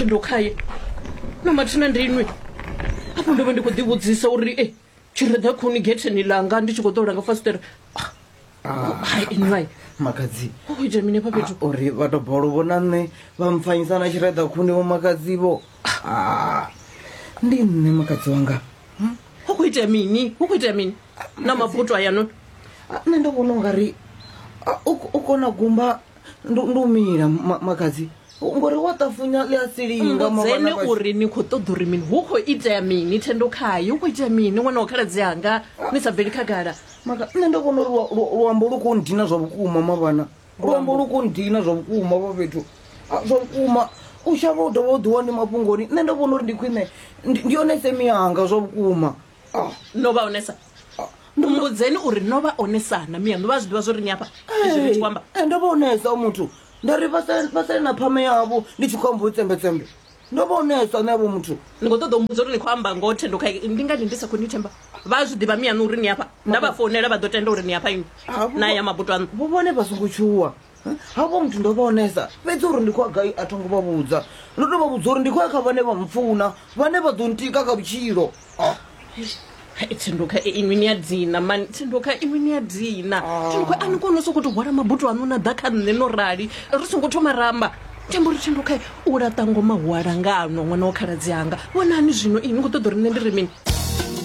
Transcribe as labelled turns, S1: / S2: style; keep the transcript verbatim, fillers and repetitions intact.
S1: Thendo khaye na mathina ndi inwi afho ndo vha ndi khou ḓivhudzisa uri e tshireḓa khuni getheni langa ndi tshi khou ṱola nga fasiṱere. Hai inwi
S2: Makhadzi,
S1: hu khou itea mini hafha fhethu?
S2: Uri vha to bolo vhona nṋe vha mpfanyisa na tshireḓa khuni vho makhadzi vho. Ah, ndi nṋe makhadzi wanga.
S1: Hu khou itea mini? Hu khou itea mini na mabuto ayanoni?
S2: Ah, nṋe ndo vhona ungari ah, u u kona gumba ndi ndi u mila ma- makhadzi ngori wa ṱafunya ḽi a silinga.
S1: Mbudzeni uri ni khou ṱoḓa uri mini? Hu khou itea mini, Thendo khaye? Hu khou itea mini ṅwana wa khaladzi anga ni sa bveli khagala?
S2: Maka nṋe ndo vhona uri lua- lua- luambo lu khou ndina zwa vhukuma mavhana, luambo lu khou ndina zwa vhukuma vha fhethu. Ah, zwa vhukuma u shavha u dovha u ḓiwa ndi mafhungoni. Nṋe ndo vhona uri ndi khwine ndi ndi yone semi yanga zwa vhukuma. Ah,
S1: No vha onesa? Mbudzeni uri no vha onesana miyaṋu vha zwi ḓivha zwo ri ni afha izwi ni tshi khou amba?
S2: Eh, ndo vha onesa muthu, nda ri vha sale vha sale na phame yavho ndi tshi khou amba u tsembetsembe. Ndo vha onesa nṋe avho muthu.
S1: Ni khou ṱoḓa u mbudza uri ni khou amba ngoho, Thendo khaye? Ndi ngani ndi sa khou ni themba? Vha zwi ḓivha miyaṋu uri ni afha? Nda vha founela vha ḓo tenda uri ni afha inwi
S2: Ah, vho-
S1: na ya mabuto aṋu?
S2: Vho vhone vha songo tshuwa havho muthu, ndo vha onesa fhedzi uri ndi khou ya gai a thongo vha vhudza. Ndo to vha vhudza uri ndi khou ya kha vhane vha mpfuna, vhane vha ḓo ntika kha vhutshilo. Ah.
S1: Hai, Thendo kha inwi ni a dina mani. Thendo kha inwi ni a dina. Thendo kha a ni koni u sokou tou hwala mabuto aṋu na ḓa kha nṋe no rali ri songo thoma ramba tamba uri Thendo kha u laṱa ngoma hu alangano ṅwana wa khaladzi anga vhonani zwino inwi ni khou ṱoḓa uri nṋe ndi ri mini?